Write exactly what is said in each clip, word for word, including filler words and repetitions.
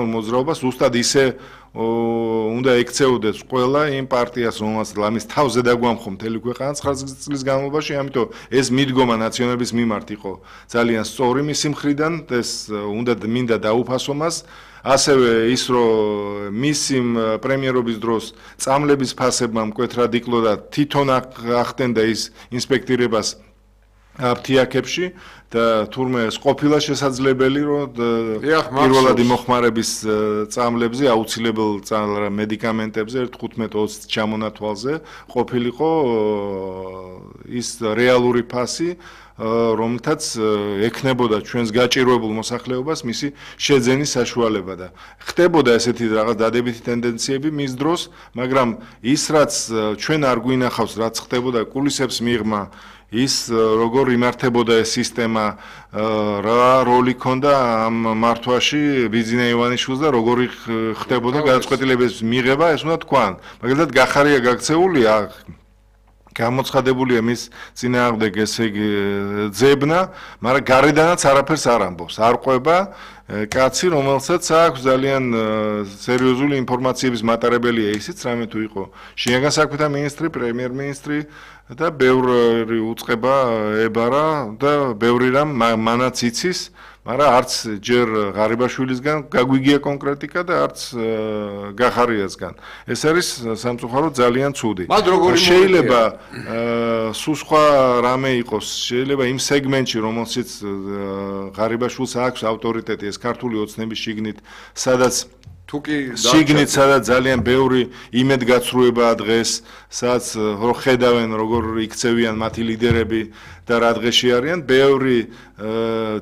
მოძრაობას უსტად ისე უნდა ექცეოდეს ყველა იმ პარტიას, რომელსაც ლამის თავზე დაგვამხო მთელი ქვეყანა ცხრა წლის განმავლობაში, ამიტომ ეს მიდგომა ნაციონალების მიმართ იყო ძალიან სწორი მისი მხრიდან, ეს უნდა მინდა დაუფასო მას. ასევე ის რომ მისი პრემიერობის დროს წამლების ფასებმა მკვეთრად იკლო და თვითონ ახდენდა ის ინსპექტირებას აფთიაქებში და თურმე ყოფილა შესაძლებელი რომ პირველად იმოხმარების წამლებზე აუცილებელ მედიკამენტებზე თხუთმეტ ოცი ჩამონათვალზე ყოფილიყო ის რეალური ფასი რომელთაც ექნებოდა ჩვენს გაჭირვებულ მოსახლეობას მისი შეძენის საშუალება და ხდებოდა ესეთი რაღაც დადებითი ტენდენციები მის დროს, მაგრამ ის რაც ჩვენ არ გვინახავს, რაც ხდებოდა კულისებს მიღმა ის როგორ იმართებოდა ეს სისტემა, რა როლი ჰქონდა ამ მართვაში ბიძინა ივანიშვილს და როგორი ხდებოდა გადაწყვეტილების მიღება, ეს უნდა თქვან. მაგალითად გახარია გაქცეულია გამოცხადებულია მის წინააღმდეგ ესე იგი ძებნა, მაგრამ გარედანაც არაფერს არ ამბობს. არ ყვება კაცი, რომელსაც აქვს ძალიან სერიოზული ინფორმაციების მატარებელია ისიც, რამე თუ იყო შინაგან საქმეთა მინისტრი, პრემიერ-მინისტრი და ბევრი უწყება ებარა და ბევრი რამ მანაც იცის, მაგრამ არც ჯერ ღარიბაშვილისგან გაგვიგია კონკრეტიკა და არც გახარიასგან. ეს არის სამწუხაროდ ძალიან ცუდი. შეიძლება სულ სხვა რამე იყოს, შეიძლება იმ სეგმენტში, რომელშიც ღარიბაშვილს აქვს ავტორიტეტი, ეს ქართული ოცნების შიგნით, სადაც შიგნით სადაც ძალიან ბევრი იმედგაცრუებაა დღეს, სადაც რო ხედავენ როგორ იქცევიან მათი ლიდერები და რა დღეში არიან, ბევრი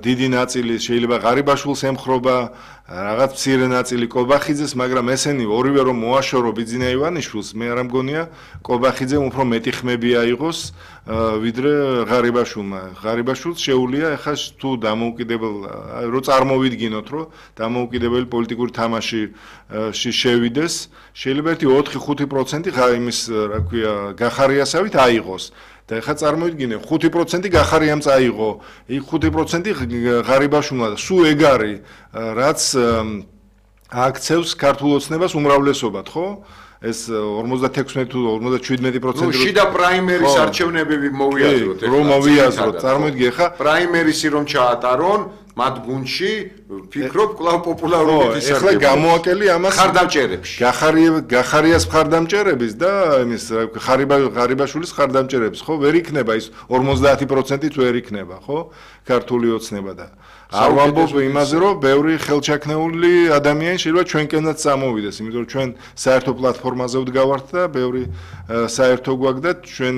დიდი ნაწილი შეიძლება ღარიბაშვილს ემხრობა, რაღაც მცირე ნაწილი კობახიძეს, მაგრამ ესენი ორივე რომ მოაშორო ბიძინა ივანიშვილს, მე არ მგონია კობახიძემ უფრო მეტი ხმები აიღოს ვიდრე ღარიბაშვილმა. ღარიბაშვილს შეუძლია ახლა თუ დამოუკიდებელ რო წარმოვიდგინოთ, რომ დამოუკიდებელი პოლიტიკური თამაში შევიდეს, შეიძლება ერთი ოთხი ხუთი პროცენტი იმის, რა ქვია, გახარიასავით აიღოს. და ეხლა წარმოვიდგინე, ხუთი პროცენტი გახარიამ წაიღო, იქ ხუთი პროცენტი ღარიბაშვილმა და სულ ეგ არის, რაც აქცევს ქართულ ოცნებას უმრავლესობად, ხო? ეს ორმოცდათექვსმეტი თუ ორმოცდაშვიდმეტი პროცენტი რო შიდა პრაიმერის არჩევნებები მოვიაზროთ, რომ მოვიაზროთ, წარმოვიდგინე, ხა პრაიმერისი რომ ჩაატარონ მათ გუნდში ფიქრობ კვლავ პოპულარობით ისარგებლოს. ეხლა გამოაკელი ამას ხარდამჭერებში. გახარიას ხარდამჭერების და იმის ღარიბაშვილის ხარდამჭერების, ხო, ვერ იქნება ის ორმოცდაათი პროცენტით ვერ იქნება, ხო? ქართული ოცნება და არ ვამბობ იმაზე, რომ ბევრი ხელჩაქნეული ადამიანი შეიძლება ჩვენკენაც წამოვიდეს, იმიტომ რომ ჩვენ საერთო პლატფორმაზე ვდგავართ და ბევრი საერთო გვაქვს და ჩვენ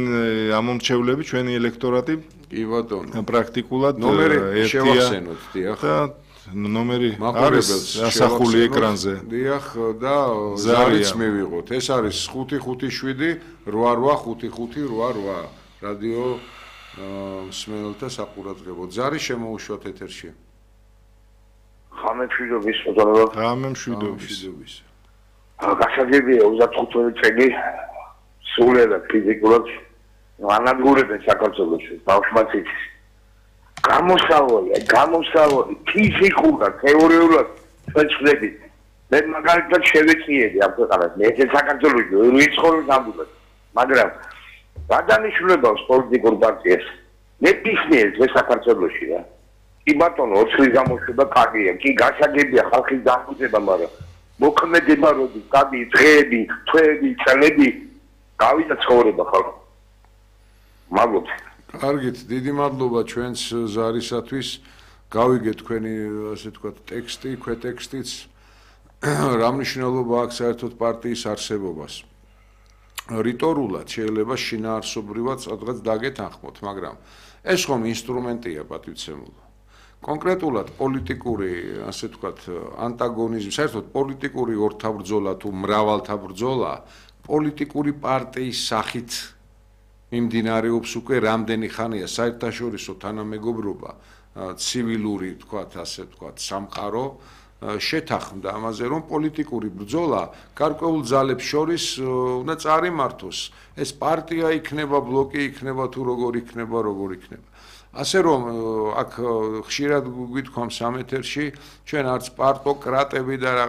ამომრჩევლები, ჩვენი ელექტორატი კი ბატონო. პრაქტიკულად ნომერი შევახსენოთ, დიახ. და ნომერი არის ასახული ეკრანზე. დიახ და ზარიც მივიღოთ. ეს არის ხუთი ხუთი შვიდი რვა რვა ხუთი ხუთი რვა რვა. რადიო მსმენელთა საყურადღებო. ზარი შემოუშვათ ეთერში. ხამემშვიდობის ბატონო. ხამემშვიდობის. გასაგებია ოცდახუთი წელი სულელად ფიზიკურად ანადგურებენ საქართველოში ბავშვმაც იცის. გამოსავალი, გამოსავალი ფიზიკურად, თეორიულად ჩვენ ვწდებით. მე მაგალითად შევეწიები ამ ქვეყანას, მე ეს საქართველოში ვერ ვიცხოვრობ ნამდვილად. მაგრამ გადანიშნულებას პოლიტიკურ პარტიას მე პისნიეს ეს საქართველოში რა. კი ბატონო, ოცხლის გამოშვება კარგია, კი გასაგებია ხალხის დამხუძება, მაგრამ მოქმედება როდის, კადი დღეები, თვეები, წლები გავიდა ცხოვრება ხალხო. მადლობთ. კარგით, დიდი მადლობა ჩვენს ზარისათვის. გავიგეთ თქვენი, ასე ვთქვათ, ტექსტი, ქვეტექსტიც. რა მნიშვნელობა აქვს საერთოდ პარტიის არსებობას. რიტორულად შეიძლება შინაარსობრივად სადღაც დაგეთანხმოთ, მაგრამ ეს ხომ ინსტრუმენტია პატივცემულო. კონკრეტულად პოლიტიკური, ასე ვთქვათ, ანტაგონიზმი, საერთოდ პოლიტიკური ორთავბრძოლა თუ მრავალთავბრძოლა პოლიტიკური პარტიის სახით მიმდინარეობს უკვე რამდენი ხანია საერთაშორისო თანამეგობრობა, ცივილური, თქვათ, ასე ვთქვათ, სამყარო შეთანხმდა ამაზე, რომ პოლიტიკური ბრძოლა გარკვეულ ძალებს შორის უნდა წარიმართოს. ეს პარტია იქნება, ბლოკი იქნება თუ როგორ იქნება, როგორ იქნება. ასე რომ აქ ხშირად გვითქვამს ამ ეთერში ჩვენ არც პარტოკრატები და რაღაც